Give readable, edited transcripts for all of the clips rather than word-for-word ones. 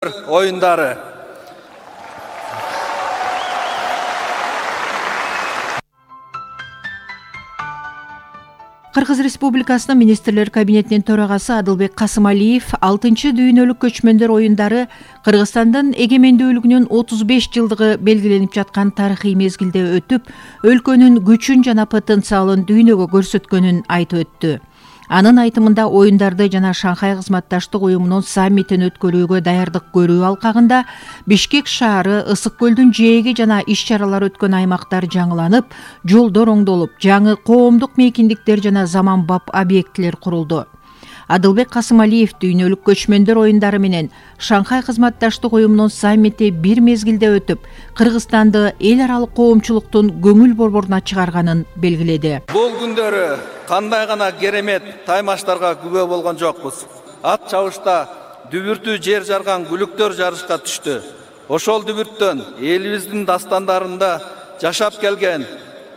Oyundары. Кыргыз Республикасынын Министрлер кабинетинин төрагасы Адылбек Касымалиев 6-чы дүйнөлүк көчмөндөр оюндары Кыргызстандын эгемендүүлүгүнүн 35 жылдыгы белгиленип жаткан тарыхый мезгилде өтүп, өлкөнүн күчүн жана потенциалын дүйнөгө көрсөткөнүн айтып өттү. Анын айтымында оюндарды жана Шанхай кызматташтык уюмунун саммитин өткөрүүгө даярдык көрүү алкагында Бишкек шаары, Ысык көлдүн жээги жана иш-чаралар өткөн аймактар жаңыланып, жолдор оңдолуп, жаңы коомдук мейкиндиктер жана заманбап объектилер курулду. Адылбек Касымалиев дүйнөлүк көчмөндөр оюндары менен Шанхай кызматташтык уюмунун саммити бир мезгилде өтүп, Кыргызстанды эл аралык коомчулуктун көңүл борборуна чыгарганын белгиледи. Бул күндөрү кандай гана керемет таймаштарга күбө болгон жокпуз. Ат чабышта дүбүртү жер жарган күлүктөр жарышка түштү. Ошол дүбүрттөн элибиздин дастандарында жашап келген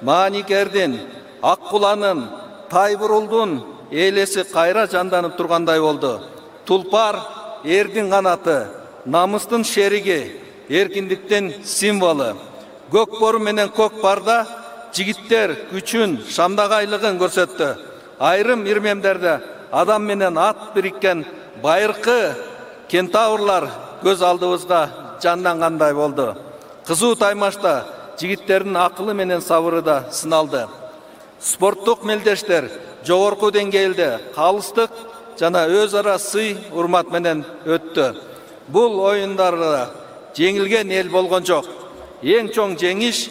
Мааникердин, Аккуланын, Тайбурулдун элеси кайра жанданып тургандай болду. Тулпар эрдин канаты, намыстын шериги, эркиндиктин символу. Көк бору менен көк парда жигиттер күчүн, шамдагайлыгын көрсөттү. Айрым ирмемдерде адам менен ат бириккен байыркы кентаврлар көз алдыбызга жандангандай болду. Кызуу таймашта жигиттердин акылы менен сабыры да сыналды. Спорттук мелдештер жогорку деңгээлде калыстык жана өз ара сый урмат менен өттү. Бул оюндарда жеңилген эл болгон жок. Эң чоң жеңиш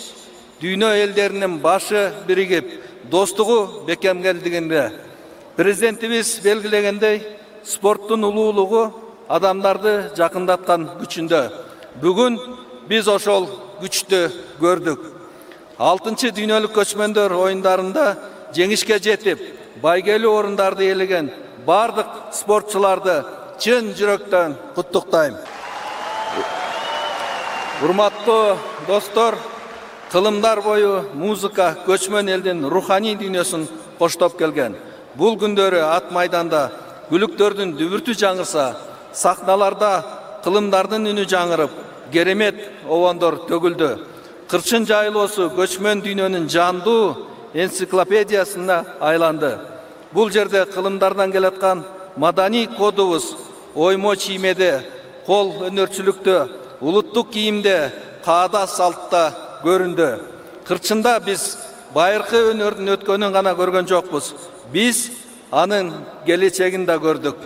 дүйнө элдеринин башы биригип, достугу бекемделгенде. Президентибиз белгилегендей, спорттун улуулугу адамдарды жакындаткан күчүндө. Бүгүн биз ошол күчтү көрдүк. 6-чы дүйнөлүк көчмөндөр оюндарында жеңишке жетип, байгелүү орундарды ээлеген бардык спортчуларды чын жүрөктөн куттуктайм. Урматтуу достор, кылымдар бою музыка көчмөн элдин руханий дүйнөсүн коштоп келген. Бул күндөрү ат майданда күлүктөрдүн дүбүртү жаңырса, сахналарда кылымдардын үнү жаңырып, керемет обондор төгүлдү. Кырчын жайылоосу көчмөн дүйнөнүн жандуу энциклопедиясына айланды. Бул жерде кылымдардан келаткан маданий кодубуз оймо чиймеде, кол өнөрчүлүктө, улуттук кийимде, каада салтта көрүндү. Кырчында биз байыркы өнөрдүн өткөнүн гана көргөн жокпуз. Биз анын келечегин да көрдүк.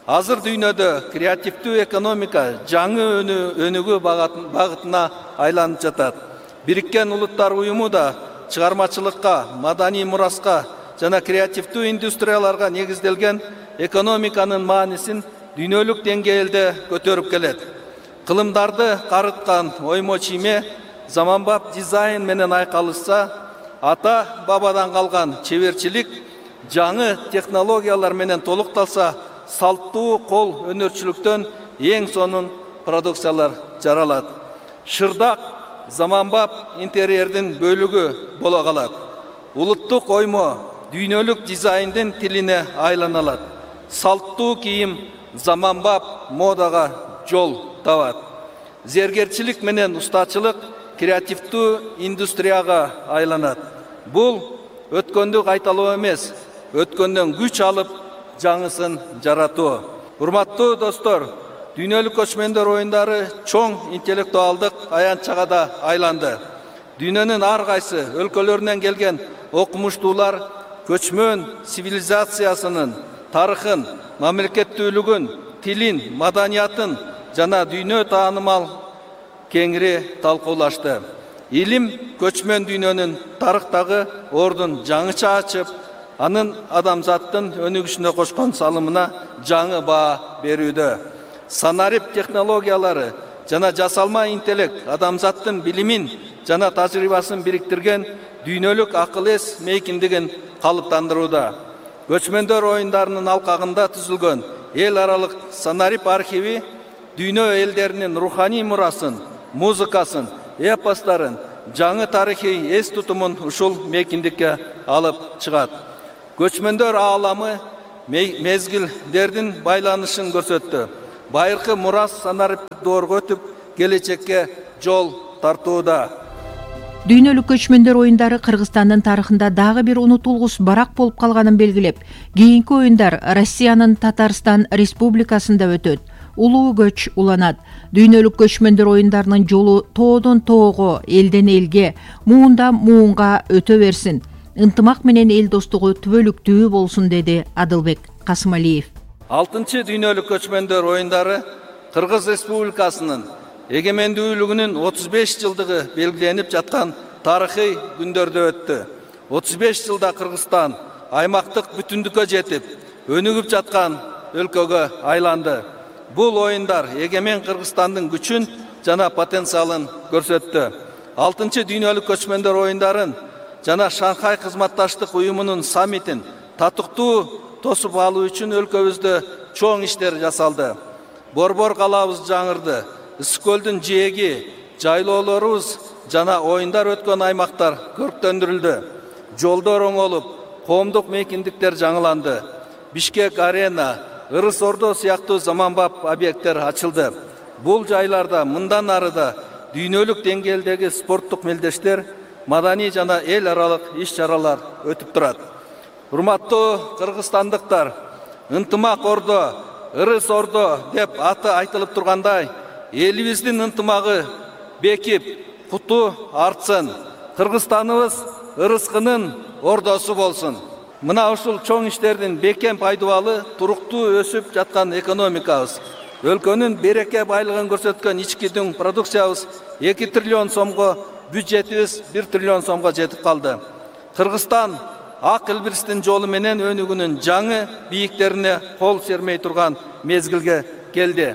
Азыр дүйнөдө креативдүү экономика жаңы өнүгүү багытына айланып жатат. Бириккен Улуттар уюму да чыгармачылыкка, маданий мураска жана креативдүү индустрияларга негизделген экономиканын маанисин дүйнөлүк деңгээлде көтөрүп келет. Кылымдарды карыткан оймо чийме заманбап дизайн менен айкалышса, ата бабадан калган чеберчилик жаңы технологиялар менен толукталса, салттуу кол өнөрчүлүктөн эң сонун продукциялар жаралат. Шырдак заманбап интерьердин бөлүгү боло калат. Улуттук оймо дүйнөлүк дизайндын тилине айланалат. Салттуу кийим заманбап модага жол табат. Зергерчилик менен устачылык креативдүү индустрияга айланат. Бул өткөндү кайталоо эмес, өткөндөн күч алып жаңысын жаратуу. Урматтуу достор, дүйнөлүк көчмөндөр оюндары чоң интеллектуалдык аянтчага да айланды. Дүйнөнүн ар кайсы өлкөлөрүнөн келген окумуштуулар көчмөн цивилизациясынын тарыхын, мамлекеттүүлүгүн, тилин, маданиятын жана дүйнө таанымал кеңири талкуулашты. Илим көчмөн дүйнөнүн тарыхтагы ордун жаңыча ачып, анын адамзаттын өнүгүшүнө кошкон салымына жаңы баа берүүдө. Санарип технологиялары жана жасалма интеллект адамзаттын билимин жана тажрыйбасын бириктирген дүйнөлүк акыл эс мейкиндигин калыптандырууда. Көчмөндөр оюндарынын алкагында түзүлгөн эл аралык санарип архиви дүйнө элдеринин руханий мурасын, музыкасын, эпостарын, жаңы тарыхый эс тутумун ушул мейкиндикке алып чыгат. Көчмөндөр ааламы мезгилдердин байланышын көрсөттү. байыркы мурас санариптик доорго өтүп, келечекке жол тартууда. Дүйнөлүк көчмөндөр оюндары Кыргызстандын тарыхында дагы бир унутулгус барак болуп калганын белгилеп, кийинки оюндар Россиянын Татарстан Республикасында өтөт. Улуу көч уланат. Дүйнөлүк көчмөндөр оюндарынын жолу тоодон тоого, элден элге, муундан муунга өтө берсин. Ынтымак менен эл достугу түбөлүктүү болсун, деди Адылбек Касымалиев. 6 дүйнөлүк көчмөндөр оюндары Кыргыз Республикасынын эгемендүүлүгүнүн 35 жылдыгы белгиленип жаткан тарыхый күндөрдө өттү. 35 жылда Кыргызстан аймактык бүтүндүккө жетип, өнүгүп жаткан өлкөгө айланды. Бул оюндар эгемен Кыргызстандын күчүн жана потенциалын көрсөттү. 6 дүйнөлүк көчмөндөр оюндарын жана Шанхай кызматташтык уюмунун саммитин татыктуу тосуп алуу үчүн өлкөбүздө чоң иштер жасалды. Борбор калабыз жаңырды. Ысык көлдүн жээги, жайлоолорубуз жана оюндар өткөн аймактар көрктөндүрүлдү. Жолдор оңолуп, коомдук мейкиндиктер жаңыланды. Бишкек арена, Ырыс Ордо сыяктуу заманбап объекттер ачылды. Бул жайларда мындан арыда дүйнөлүк деңгээлдеги спорттук мелдештер, маданий жана эл аралык иш-чаралар өтүп турат. Урматтуу кыргызстандыктар, ынтымак Ордо, Ырыс Ордо деп аты айтылып тургандай, элибиздин ынтымагы бекип, куту артсын. Кыргызстаныбыз ырыскынын ордосу болсун. Мына ушул чоң иштердин бекем пайдубалы туруктуу өсүп жаткан экономикабыз, өлкөнүн береке байлыгын көрсөткөн ички дүң продукциябыз 2 триллион сомго, бюджетибиз 1 триллион сомго жетип калды. Кыргызстан ак илбирстин жолу менен өнүгүүнүн жаңы бийиктерине кол сермей турган мезгилге келди.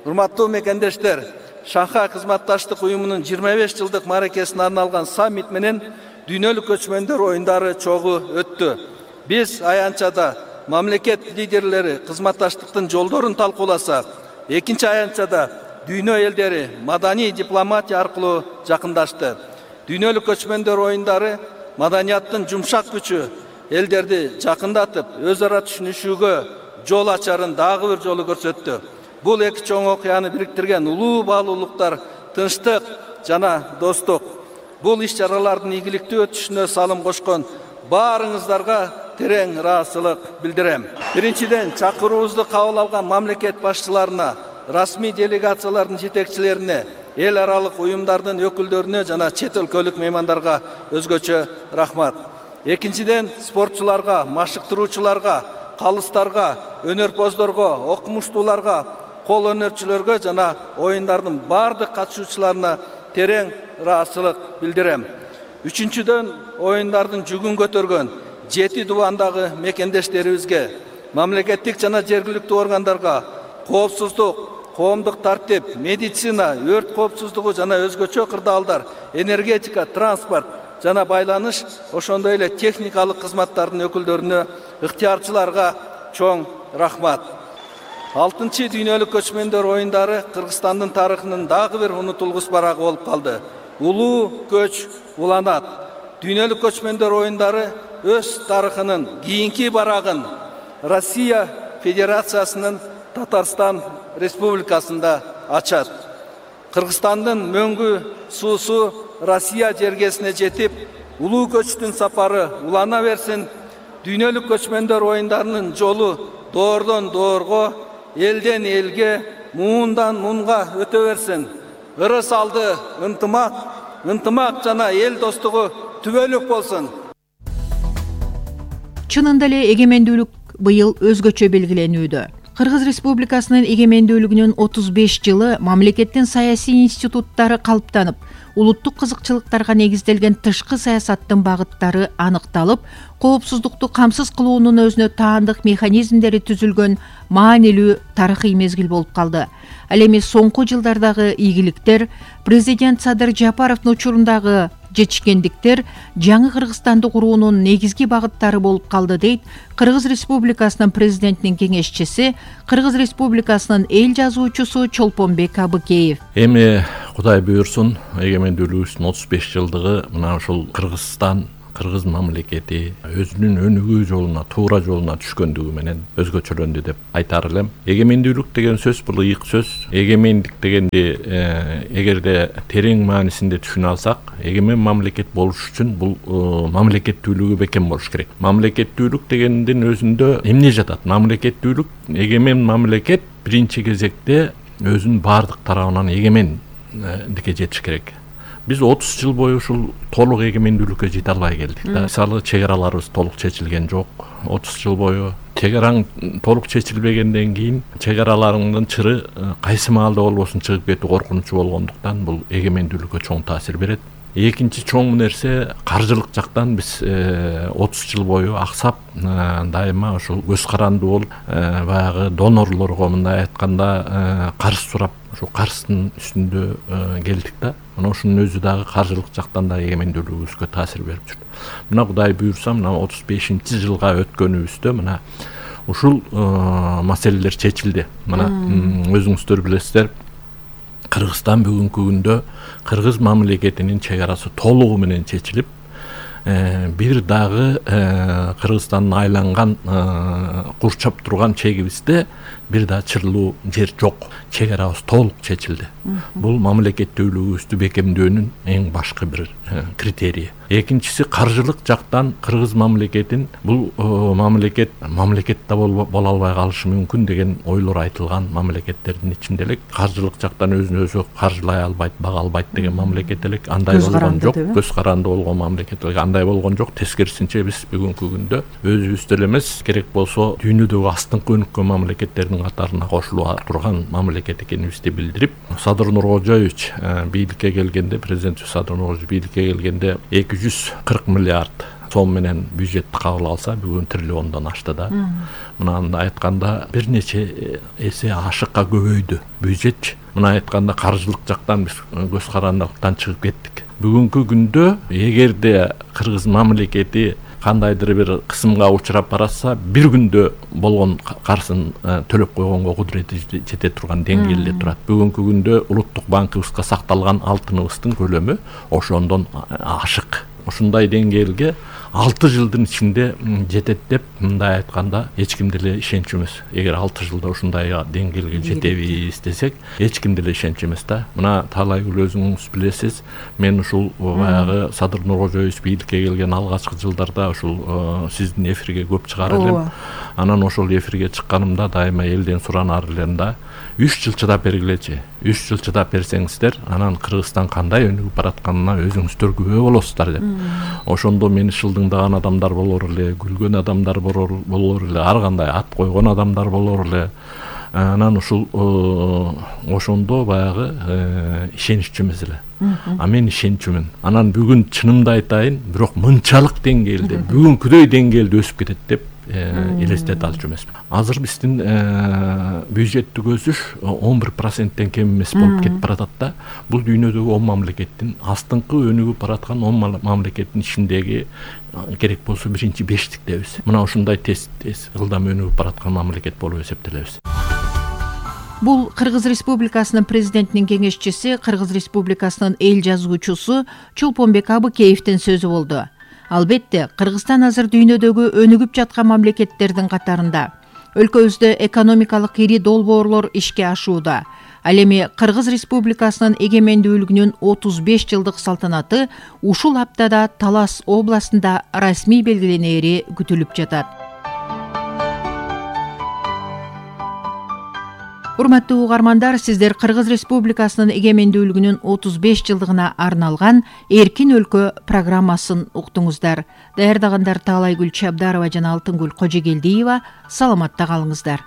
Урматтуу мекендештер, Шанхай кызматташтык уюмунун 25 жылдык мааракесине арналган саммит менен дүйнөлүк көчмөндөр оюндары чогуу өттү. Биз аянтчада мамлекет лидерлери кызматташтыктын жолдорун талкууласак, экинчи аянтчада дүйнө элдери маданий дипломатия аркылуу жакындашты. Дүйнөлүк көчмөндөр оюндары маданияттын жумшак күчү элдерди жакындатып, өз ара түшүнүшүүгө жол ачарын дагы бир жолу көрсөттү. Бул эки чоң окуяны бириктирген улуу баалуулуктар тынчтык жана достук. Бул иш-чаралардын ийгиликтүү өтүшүнө салым кошкон баарыңыздарга терең ыраазычылык билдирем. Биринчиден, чакыруубузду кабыл алган мамлекет башчыларына, расмий делегациялардын жетекчилерине, эл аралык уюмдардын өкүлдөрүнө жана чет өлкөлүк меймандарга өзгөчө рахмат. Экинчиден, спортчуларга, машыктыруучуларга, калыстарга, өнөрпоздорго, окумуштууларга, кол өнөрчүлөргө жана оюндардын бардык катышуучуларына терең ыраазычылык билдирем. Үчүнчүдөн, оюндардын жүгүн көтөргөн 7 дубандагы мекендештерибизге, мамлекеттик жана жергиликтүү органдарга коопсуздук, коомдук тартип, медицина, өрт коопсуздугу жана өзгөчө кырдаалдар, энергетика, транспорт жана байланыш, ошондой эле техникалык кызматтардын өкүлдөрүнө, ыктыярчыларга чоң рахмат. 6 дүйнөлүк көчмөндөр оюндары Кыргызстандын тарыхынын дагы бир унутулгус барагы болуп калды. Улуу көч уланат. Дүйнөлүк көчмөндөр оюндары өз тарыхынын кийинки барагын Россия Федерациясынын Татарстан Республикасында ачат. Кыргызстандын мөңгү суусу Россия жергесине жетип, улуу көчтүн сапары улана берсин. Дүйнөлүк көчмөндөр оюндарынын жолу доордон доорго, элден элге, муундан муунга өтө берсин. Ырыс алды ынтымак, ынтымак жана эл достугу түбөлүк болсун. Чынында эле эгемендүүлүк быйыл өзгөчө белгиленүүдө. Кыргыз Республикасынын эгемендүүлүгүнүн 35 жылы мамлекеттин саясий институттары калыптанып, улуттук кызыкчылыктарга негизделген тышкы саясаттын багыттары аныкталып, коопсуздукту камсыз кылуунун өзүнө таандык механизмдери түзүлгөн маанилүү тарыхый мезгил болуп калды. Ал эми соңку жылдардагы ийгиликтер, президент Садыр Жапаровдун учурундагы жетишкендиктер жаңы Кыргызстанды куруунун негизги багыттары болуп калды, дейт Кыргыз Республикасынын президентинин кеңешчиси, Кыргыз Республикасынын эл жазуучусу Чолпонбек Абыкеев. Эми Кудай буйрсун, эгемендүүлүгүбүздүн 35 жылдыгы мына ушул Кыргызстан кыргыз мамлекети өзүнүн өнүгүү жолуна, туура жолуна түшкөндүгү менен өзгөчөлөндү деп айтар элем. Эгемендүүлүк деген сөз бул ыйык сөз. Эгемендик дегенди эгерде терең маанисинде түшүнө алсак, эгемен мамлекет болуш үчүн бул мамлекеттүүлүгү бекем болуш керек. Мамлекеттүүлүк дегендин өзүндө эмне жатат? Мамлекеттүүлүк, эгемен мамлекет биринчи кезекте өзүнүн баардык тарабынан эгемендикке жетиш керек. Биз 30 жыл бою ушул толук эгемендүүлүккө жете албай келдик да. Мисалы, чек араларыбыз толук чечилген жок. 30 жыл бою чек араң толук чечилбегенден кийин чек араларыңдын чыры кайсы маалда болбосун чыгып кетүү коркунучу болгондуктан бул эгемендүүлүккө чоң таасир берет. Экинчи чоң нерсе, каржылык жактан биз 30 жыл бою аксап, дайыма ушул көз каранды болуп, баягы донорлорго мындай айтканда карыз сурап, ошол карыздын үстүндө келдик да. Мына ушунун өзү дагы каржылык жактан да эгемендүүлүгүбүзгө таасир берип жүрдү. Мына Кудай буйрса, мына 35-жылга өткөнүбүздө мына ушул маселелер чечилди. Мына өзүңүздөр билесиздер, Кыргызстан бүгүнкү күндө кыргыз мамлекетинин чек арасы толугу менен чечилип, бир дагы Кыргызстандын айланган курчап турган чегибизде бир да чырлуу жер жок. Чек арабыз толук чечилди. Бул мамлекеттүүлүгүбүздү бекемдөөнүн эң башкы бир критерийи. Экинчиси, каржылык жактан кыргыз мамлекетин бул мамлекет да боло албай калышы мүмкүн деген ойлор айтылган мамлекеттердин ичинде элек. Каржылык жактан өзүн өзү каржылай албайт, бага албайт деген мамлекет элек. Андай болгон жок. Көз каранды болгон мамлекет элек. Андай болгон жок. Тескерисинче биз бүгүнкү күндө өзүбүз эле эмес, керек болсо дүйнөдөгү астыңкы өнүккөн мамлекеттердин катарына кошулуп турган мамлекет экенибизди билдирип, Садыр Нуркожоевич бийликке келгенде, президент Садыр Нуркожоевич бийликке келгенде 240 миллиард сом менен бюджетти кабыл алса, бүгүн триллиондон ашты да. Мына айтканда бир нече эсе ашыкка көбөйдү бюджетчи. Мына айтканда каржылык жактан биз көз карандылыктан чыгып кеттик. Бүгүнкү күндө эгерде кыргыз мамлекети кандайдыр бир кысымга учурап баратса, бир күндө болгон карызын төлөп койгонго кудурети жете турган деңгээлде турат. Бүгүнкү күндө улуттук банкыбызга сакталган алтыныбыздын көлөмү ошондон ашык. Ушундай деңгээлге 6 жылдын ичинде жетет деп мындай айтканда эч ким деле ишенчү эмес. Эгер 6 жылда ушундай деңгээлге жетебиз десек, эч ким деле ишенчү эмес да. Мына Таалайгүл өзүңүз билесиз, мен ушул баягы Садыр Нуркожоевич бийликке келген алгачкы жылдарда ушул сиздин эфирге көп чыгар элем. Анан ошол эфирге чыкканымда дайыма элден суранар элем да, 3 жыл чыдап бергилечи. 3 жыл чыдап берсеңиздер, анан Кыргызстан кандай өнүгүп баратканына өзүңүздөр күбө болосуздар деп. Ошондо мени шылдыңдаган адамдар болор эле, күлгөн адамдар болор эле, ар кандай ат койгон адамдар болор эле. Анан ушул ошондо баягы ишениччү эмес эле. А мен ишенчүмүн. Анан бүгүн чынымды айтайын, бирок мынчалык деңгээлде, бүгүнкүдөй деңгээлде өсүп кетет деп элестете алчу эмесмин. Азыр биздин бюджеттик өсүш 11%тен кем эмес болуп кетип баратат да. Бул дүйнөдөгү 10 мамлекеттин, астыңкы өнүгүп бараткан 10 мамлекеттин ичиндеги керек болсо биринчи бештиктебиз. Мына ушундай тез ылдам өнүгүп бараткан мамлекет болуп эсептелебиз. Бул Кыргыз Республикасынын президентинин кеңешчиси, Кыргыз Республикасынын эл жазуучусу Чулпонбек Абыкеевдин сөзү болду. Албетте, Кыргызстан азыр дүйнөдөгү өнүгүп жаткан мамлекеттердин катарында. Өлкөбүздө экономикалык ири долбоорлор ишке ашууда. Ал эми Кыргыз Республикасынын эгемендүүлүгүнүн 35 жылдык салтанаты ушул аптада Талас областында расмий белгиленери күтүлүп жатат. Урматтуу угармандар, сиздер Кыргыз Республикасынын эгемендүүлүгүнүн 35 жылдыгына арналган Эркин өлкө программасын уктуңуздар. Даярдагандар Таалайгүл Чабдарова жана Алтынгүл Кожегелдиева. Саламатта калыңыздар.